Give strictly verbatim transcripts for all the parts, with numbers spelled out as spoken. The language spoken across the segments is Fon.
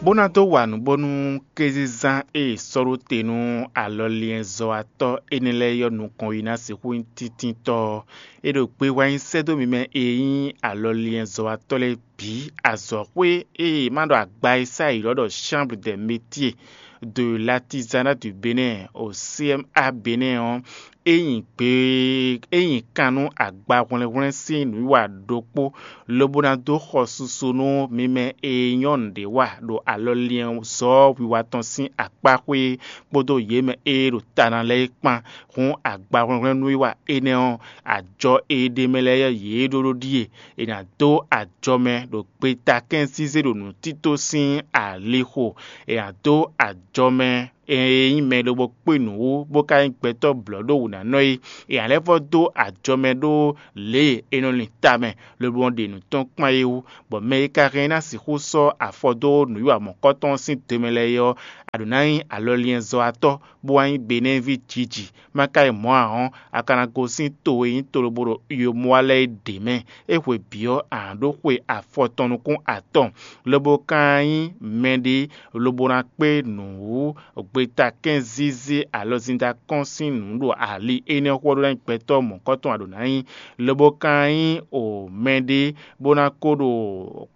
Bó ná dó wa nǔ bónú kézínzán e è sɔ́ ɖó te nú alɔliɛnzɔ́watɔ́ énɛ́ lɛ́ɛ ɔ́ nukɔn yi ná sixú nyí tíntítɔ́ ɔ́, é ɖo gbé wá nyi sɛ́ dó mi mɛ e nyí alɔliɛnzɔ́watɔ́ lɛ́ɛ bǐ. Azɔ̌xwé e è ma ɖo agba e sá yě ylɔ́ ɖɔ Chambre des Métiers de l'Artisanat du Bénin, o C M A Bénin ɔ́, é nyi gbe é nyi kan nú agbahwlɛ́nhwlɛ́n sín nǔwiwa ɖokpó, lobo ná dó xɔ susu nú mi mɛ e nyɔ́ nǔɖé wa ɖo alɔliɛnzɔ́ wiwa tɔn sín akpáxwé kpódó yě mɛ e ɖo ta ná lɛ́ɛ é kpán. Hǔn agbahwlɛ́nhwlɛ́n nǔwiwa énɛ́ ɔ́, ajɔ e ɖ'é mɛ lɛ́ɛ yě ɖó ɖó ɖíe: è nǎ dó ajɔ mɛ ɖo gbetakɛ́n zízé ɖo nǔtító sín alixo; è nǎ dó ajɔ mɛ e nyí mɛ lobo kpé nǔ wú, bó ka nyí gbɛtɔ́ blɔ̌ ɖó wǔnánɔ é; è nǎ lɛ́ vɔ́ dó ajɔ mɛ ɖó lě e è nɔ lin ta mɛ lobo nɔ ɖe nǔ tɔn kpán é wú, bɔ mɛ e ka hɛn ɔ́ ná sixú sɔ́ afɔ dó nǔwiwa mɔ̌kɔtɔn ɔ́ sín do mɛ lɛ́ɛ é ɔ́, a ɖǒ ná nyí alɔliɛnzɔ́watɔ́, bó wá nyí Benɛ́ɛví jiji. Má ka nyí mɔ̌ ǎ ɔ́, a ka ná gosín to e nyí tolobo ɖo Iyomuwa lɛ́ɛ é ɖě mɛ. É hwe bǐ ɔ́, a nǎ ɖó xwe afɔtɔn nukún atɔn, lobo ka nyí mɛɖé lobo ná kpé nǔ wú gbetakɛ́n zízé alɔzinda kɔn sín nǔ ɖo ali énɛ́ xo ɔ́ ɖó ná nyí gbɛtɔ́ mɔ̌kɔtɔn a ɖǒ ná nyí, lobo ka nyí o mɛɖé bó ná ko ɖo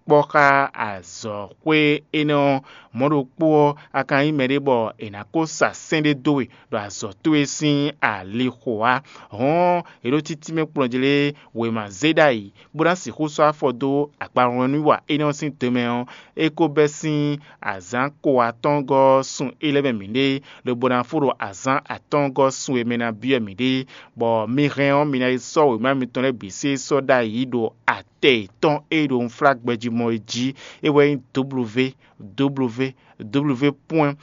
kpɔ́ xá azɔ̌xwé énɛ́ ɔ́. Mɔ̌ ɖokpó ɔ́, a ka nyí mɛɖé bɔ è nǎ ko sa sɛ́n ɖé dó we ɖo azɔ̌ towe sín alixo ǎ. Hɔ̌n è ɖó títínmɛ kplɔ́njlé wěma zé ɖ'ayǐ, bó ná sixú sɔ́ afɔ dó akpawlɔnnúwiwa énɛ́ ɔ́ sín do mɛ ɔ́, é ko bɛ́ sín azǎn ko atɔ́ɔ́ngɔ́ ɔ́ sun é lɛ́ mɛ mǐɖée, lobo ná fó ɖo azǎn atɔ́ɔ́ngɔ́ sun e mɛ ná byɔ́ mǐɖée, bɔ mi hɛn ɔ́, mi ná yi sɔ́ wěma mitɔn lɛ́ɛ bǐ sé sɔ́ ɖ'ayǐ ɖo atɛ yětɔn e ɖo unflágbɛjí mɔ é jí. É wɛ nyí www www point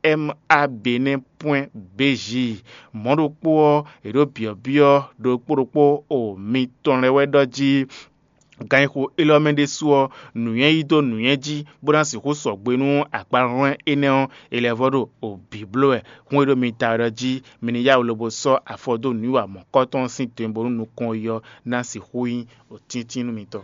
cmabenin point bj. Mɔ̌ ɖokpó ɔ́, è ɖǒ byɔ̌byɔ́ ɖokpó ɖokpó o mitɔn lɛ́ɛ wɛ ɖɔ jí ganxixo élɔ́ mɛ ɖésú ɔ́, nǔnywɛ́ yí dó nǔnywɛ́ jí, bó ná sixú sɔgbe nú akpahwlɛ́n énɛ́ ɔ́, è lɛ́ vɔ́ ɖo bǐ bló wɛ. Hún e ɖo mi ta wɛ ɖɔ jí mi ní yá wǔ lobo sɔ́ afɔ dó nǔwiwa mɔ̌kɔtɔn sín tɛn bónú nukɔn yi ɔ́ ná sixú nyí tíntín nú mitɔn.